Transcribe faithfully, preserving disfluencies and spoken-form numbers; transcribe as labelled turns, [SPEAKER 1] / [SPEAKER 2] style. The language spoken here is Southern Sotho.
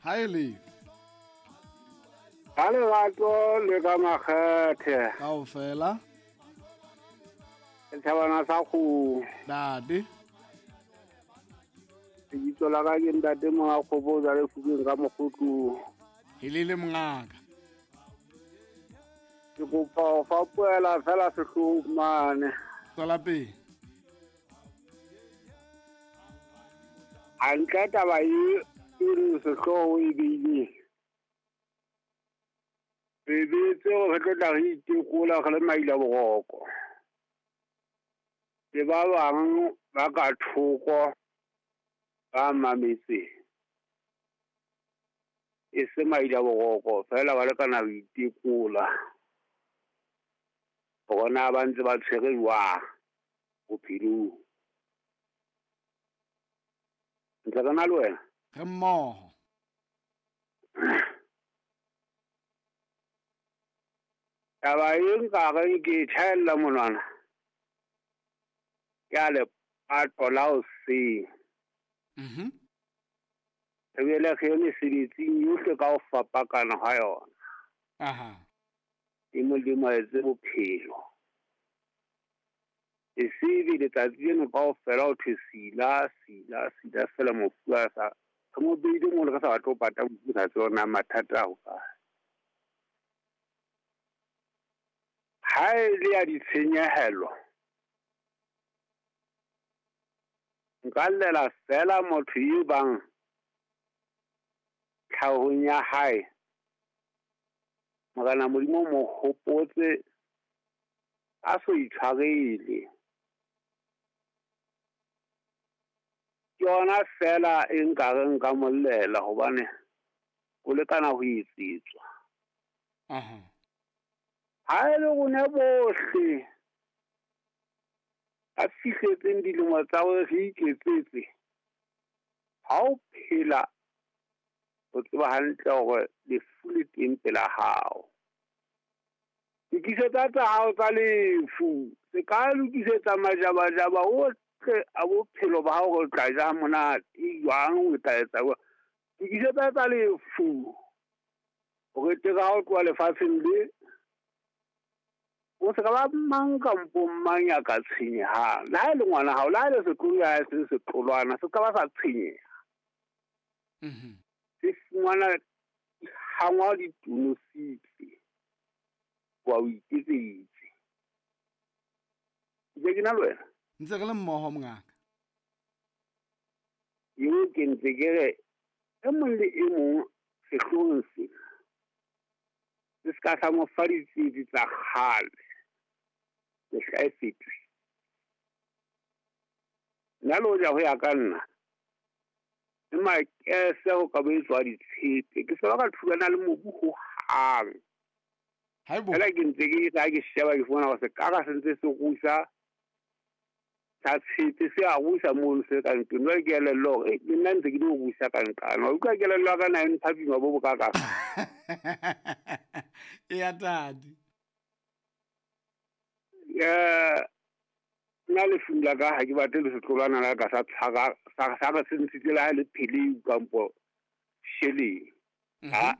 [SPEAKER 1] Ha e le
[SPEAKER 2] Ka lerato le ka makgethe.
[SPEAKER 1] Kaofela.
[SPEAKER 2] Setjhabana sa kgomo.
[SPEAKER 1] Ntate.
[SPEAKER 2] Lebitso la ka ke ntate Monga Kgopo o jwale Fukeng ka Mokgotlong.
[SPEAKER 1] Helele mongaka.
[SPEAKER 2] Ke kopa ho fapohela fela sehloohong mane.
[SPEAKER 1] Tswela pele.
[SPEAKER 2] Hantle taba e e reng sehlooho e beileng. Re beetse hore re tlo tla re itekola re le maila boroko. Le ba bang ba ka thoko ba mametseng. E se maila boroko fela ba lekana ho itekola. Hore na ba ntse ba tshwere jwang bophelong. Ntse re na le wena?
[SPEAKER 1] Re mmoho.
[SPEAKER 2] Taba e nka reng ke e tjhaella monwana ke a lepato la hoseng.
[SPEAKER 1] Mhm.
[SPEAKER 2] Re boele re ye mesebetsing yohle ka ho fapakana ha yona.
[SPEAKER 1] Aha.
[SPEAKER 2] E Modimo a etse bophelo. E se ebe letsatsi leno kaofela ho thwe sila, sila, sila fela mofu a sa. Re mo beile mono re sa batle ho pata mofu re sa tsebe hore na mathata a hokae. Ha e le ya ditshenyehelo, nka llela fela motho e bang tlhahong ya hae Morena Modimo o mo hopotse a so itshwarele. Ke yona fela e nka reng nka mo llela hobane o lekana ho etsetswa.
[SPEAKER 1] Aha.
[SPEAKER 2] Ha e le rona bohle a fihletseng dilemo tsa hore re iketsetse, ha o phela o tseba hantle hore lefu le teng pela hao. Lokisetsa tsa hao tsa lefu, se ka lokisetsa majabajaba ohle a bophelo ba hao hore o tla ja monate jwang, o tla etsa jwang. Lokisetsa tsa lefu hore teng ha o tloha lefatsheng le o se ka ba mang kampo mang ya ka tshenyehang. Le ha e le ngwana hao, le ha e le setlolo ya hae se setlolwana, se ka ba sa tshenyeha.
[SPEAKER 1] Mhm.
[SPEAKER 2] Se fumana hangwa ditonositse wa o iketseditse. Ntse ke na le wena?
[SPEAKER 1] Ntse re le mmoho mongaka.
[SPEAKER 2] Eo ke ntse ke re e mong le e mong sehloohong sena se se ka sa mo fa ditsietsi tsa kgale. Mehla e fetohile. Nna le hoja ho ya ka nna le makese ho ka bo etswa ditshepe, ke se ba ka thulana le mobu hohang.
[SPEAKER 1] Haebo.
[SPEAKER 2] Fela ke ntse ke tla ke sheba ke fumana hore sekara se ntse se rusa sa tshepe se a rusa mono se ka ntlong. Jwale ke elellwa hore le nna ntse ke di rusa ka nqane. Wa utlwa kelello ya ka na e mpha boima bo bokakang.
[SPEAKER 1] Eya tate.
[SPEAKER 2] Eh, nna lefung la ka ha ke batle le setlolwana la ka sa tshwara sa sa re se ntshitse le ha e le pheleu kampo sheleng.
[SPEAKER 1] Mhm.
[SPEAKER 2] Ha